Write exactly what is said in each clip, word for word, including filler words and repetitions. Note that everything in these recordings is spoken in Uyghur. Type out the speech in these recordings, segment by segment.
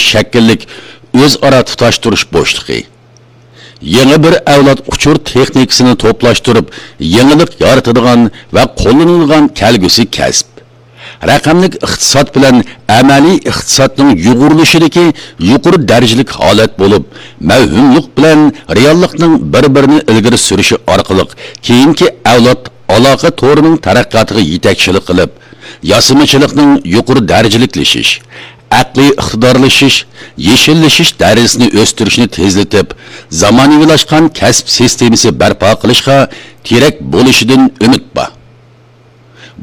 شەكىللىك ئۆزئارا تۇتاشتۇرۇش بوشلۇقى. يېڭى بىر ئەۋلاد ئۇچۇر تېخنىكىسىنى توپلاشتۇرۇپ، يېڭىلىق يارىتىدىغان ۋە قوللىنىدىغان كەلگۈسى كەسىپ. رەقەملىك ئىقتىساد بىلەن ئەمەلىي ئىقتىسادنىڭ يۇغۇرۇلۇشىدىكى يۇقىرى دەرىجىلىك ھالەت بولۇپ، مەۋھۇملۇق بىلەن رېئاللىقنىڭ بىر-بىرىنى ئىلگىرى سۈرۈشى ئارقىلىق كېيىنكى ئەۋلاد ئالاقە تورىنىڭ تەرەققىياتىغا يېتەكچىلىك قىلىپ، ياسىمىچىلىقنىڭ يۇقىرى دەرىجىلىكلىشىش، ئەقلىي ئىقتىدارلىشىش، يېشىللىشىش دەرىجىسىنى ئۆستۈرۈشنى تېزلىتىپ، زامانىۋىلاشقان كەسىپ سىستېمىسى بەرپا قىلىشقا تىرەك بولۇشىدىن ئۈمىد بار.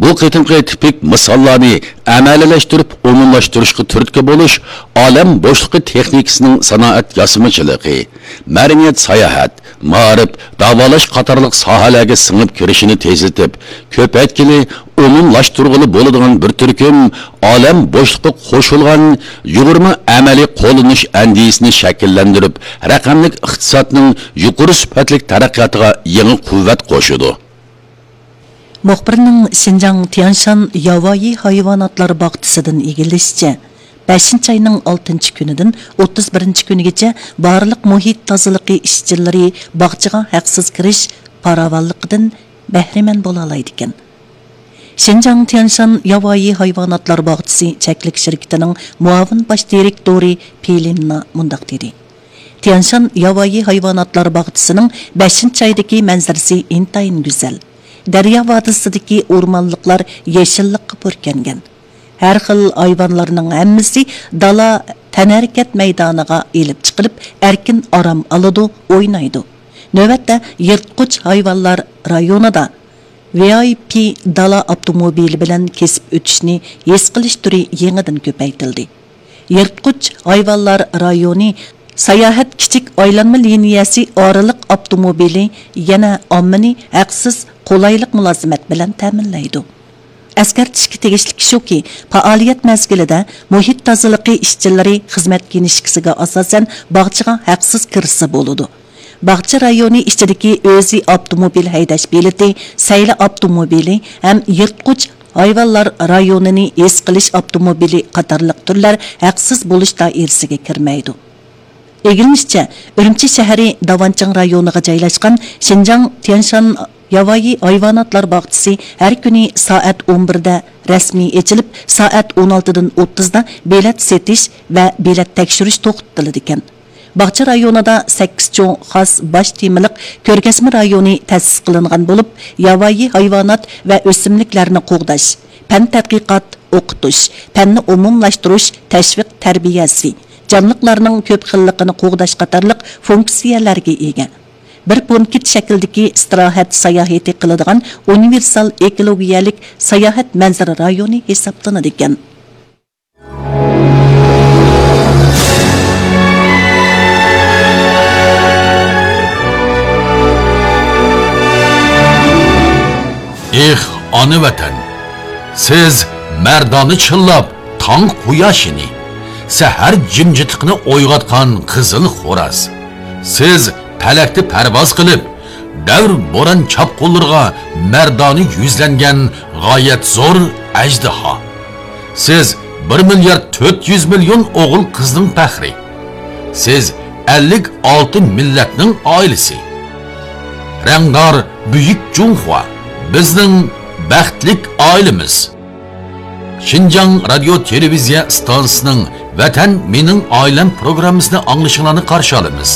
بۇ قېتىمقى تىپىك مىساللارنى ئەمەلىيلەشتۈرۈپ ئومۇملاشتۇرۇشقا تۈرتكە بولۇش ئالەم بوشلۇقى تېخنىكىسىنىڭ سانائەت ياسىمىچىلىقى، مەدەنىيەت ساياھەت، مائارىپ، داۋالاش قاتارلىق ساھەلەرگە سىڭىپ كىرىشىنى تېزلىتىپ، كۆپەيتكىلى، ئومۇملاشتۇرغىلى بولىدىغان بىر تۈركۈم ئالەم بوشلۇقى قوشۇلغان يۇغۇرما ئەمەلىي قوللىنىش ئەندىزىسىنى شەكىللەندۈرۈپ، رەقەملىك ئىقتىسادنىڭ يۇقىرى سۈپەتلىك تەرەققىياتىغا يېڭى قۇۋۋەت قوشىدۇ. مۇخبىرنىڭ شىنجاڭ تيانشان ياۋايى ھايۋاناتلار باغچىسىدىن ئىگىلىشىچە، بەشىنچى ئاينىڭ ئالتىنچى كۈنىدىن ئوتتۇز بىرىنچى كۈنىگىچە بارلىق مۇھىت تازىلىقى ئىشچىلىرى باغچىغا ھەقسىز كىرىش پاراۋانلىقىدىن بەھرىمەن بولالايدىكەن. شىنجاڭ تيانشان ياۋايى ھايۋاناتلار باغچىسى چەكلىك شىركىتىنىڭ مۇئاۋىن باش دىرېكتورى پېلىننا مۇنداق دېدى: تيانشان ياۋايى ھايۋاناتلار باغچىسىنىڭ بەشىنچى ئايدىكى مەنزىرىسى ئىنتايىن گۈزەل. دەريا ۋادىسىدىكى ئورمانلىقلار يېشىللىققا پۈركەنگەن. ھەر خىل ھايۋانلارنىڭ ھەممىسى دالا تەنھەرىكەت مەيدانىغا ئېلىپ چىقىلىپ، ئەركىن ئارام ئالىدۇ، ئوينايدۇ. نۆۋەتتە يىرتقۇچ ھايۋانلار رايونىدا ۋىئايپى دالا ئاپتوموبىلى بىلەن كېسىپ ئۆتۈشنى ھېس قىلىش تۈرى يېڭىدىن كۆپەيتىلدى. يىرتقۇچ ھايۋانلار رايونى ساياھەت كىچىك ئايلانما لىنىيەسى ئارىلىق ئاپتوموبىلى يەنە ئاممىنى ھەقسىز قولايلىق مۇلازىمەت بىلەن تەمىنلەيدۇ. ئەسكەرتىشكە تېگىشلىكى شۇكى، پائالىيەت مەزگىلىدە مۇھىت تازىلىقى ئىشچىلىرى خىزمەت كىنىشكىسىگە ئاساسەن باغچىغا ھەقسىز كىرسە بولىدۇ. باغچە رايونى ئىچىدىكى ئۆزى ئاپتوموبىل ھەيدەش بېلىتى، سەيلە ئاپتوموبىلى ھەم يىرتقۇچ ھايۋانلار رايونىنى ھېس قىلىش ئاپتوموبىلى قاتارلىق تۈرلەر ھەقسىز بولۇش دائىرىسىگە كىرمەيدۇ. ئىگىلىنىشىچە، ئۈرۈمچى شەھىرى داۋانچىڭ رايونىغا جايلاشقان شىنجاڭ تيانشان ياۋايى ھايۋاناتلار باغچىسى ھەر كۈنى سائەت ئون بىردە رەسمىي ئېچىلىپ، سائەت ئون ئالتىدىن ئوتتۇزدا بېلەت سېتىش ۋە بېلەت تەكشۈرۈش توختىتىلىدىكەن. باغچە رايونىدا سەككىز چوڭ خاس باش تېمىلىق كۆرگەزمە رايونى تەسىس قىلىنغان بولۇپ، ياۋايى ھايۋانات ۋە ئۆسۈملۈكلەرنى قوغداش، پەن تەتقىقات، ئوقۇتۇش، پەننى ئومۇملاشتۇرۇش، تەشۋىق تەربىيەسى، جانلىقلارنىڭ كۆپ خىللىقىنى قوغداش قاتارلىق فۇنكسىيەلەرگە ئىگە. بىر پونكىت شەكلىدىكى ئىستىراھەت ساياھىتى قىلىدىغان ئۇنىۋېرسال ئېكولوگىيەلىك ساياھەت مەنزىرە رايونى ھېسابلىنىدىكەن. ئېھ، ئانا ۋەتەن! سىز مەردانە چىللاپ تاڭ قۇياشىنى، سەھەر جىمجىتلىقىنى ئويغاتقان قىزىل خوراز. سىز پەلەكتە پەرۋاز قىلىپ، دەۋر بوران چاپقۇنلىرىغا مەردانە يۈزلەنگەن غايەت زور ئەجدىھا. سىز بىر مىليارد تۆت يۈز مىليون ئوغۇل قىزنىڭ پەخرى. سىز ئەللىك ئالتە مىللەتنىڭ ئائىلىسى. رەڭدار بۈيۈك جۇڭخۇا، بىزنىڭ بەختلىك ئائىلىمىز. شىنجاڭ رادىيو تېلېۋىزىيە ئىستانسىسىنىڭ ۋەتەن مېنىڭ ئائىلەم پروگراممىسىنى ئاڭلىشىڭلارنى قارشى ئالىمىز.